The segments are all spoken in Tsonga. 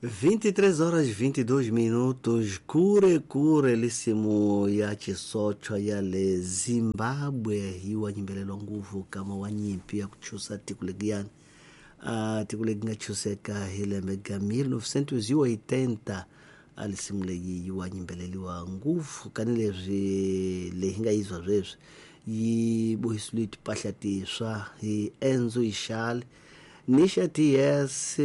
23 horas 22 minutos. Kure kure lisimu ya chisochwa ya le Zimbabwe hiwa nyimbelelwa nguvu kama wa nyimpi ya kuchusa tikulegiani tiko legi nga chuseka hi lembe ga 1980 a lisimu leyi yi wa nyimbeleliwa nguvu kani leswi leyi nga yizwa sweswi yi bohisiwe timpahla tintshwa hi Enzo Ishali, Nisha TS,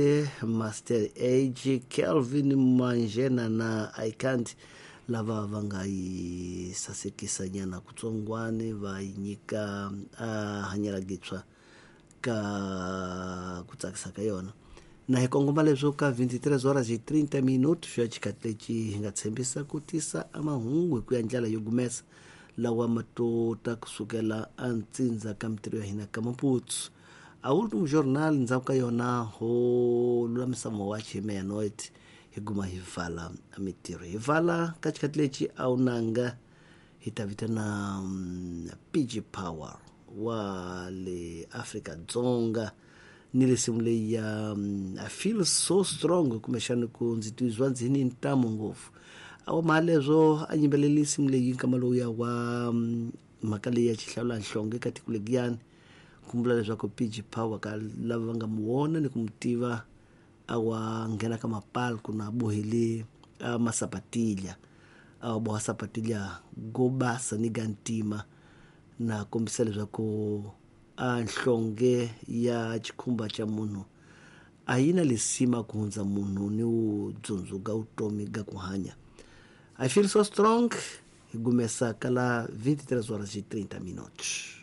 Master Age, Kelvin Manjena na Icant lava va nga yi sasekisa nyana kutsongwani va yi nyika hanyela gitshwa ka ku tsakisa ka yona. Na hi kongoma leswo ka 23 horas hi 30 minutos swa xikhathi lexi hi nga tshembisa ku tisa amahungu hi ku ya ndlela yo gumesa lawa ma to ta kusukela antsindza ka mitirho ya hina ka Maputo. A último jornal ndzhaku ka yona ho lulamisa mawachi hi meia-noite hi guma hi vala mitirho hi vala ka xikhathi lexi a wu nanga hi ta vitana PG Power wa le Afrika Dzonga ni lesimu leyi ya I feel so strong kumbexani ku ndzi tizwa ndzi ni ntamu ngopfu a wa mhaka leswo a yimbeleli nsimu leyi nkama lowuya wa mhaka leyi ya xihlawula nhlonge ka tiko legiyani kumbula leswaku PG Power ka lava va nga mu vona ni ku mu tiva a wa nghena ka mapalku na bohele a masapatilya a wa boha sapatilya go basa ni ga ntima na kombisa leswaku a nhlonge ya xikhumba xa munhu a yi na lisima ku hundza munhu ni wu dzundzuka vutomi ga ku hanya. I feel so strong hi gumesa ka la 23 horas e 30 minutos.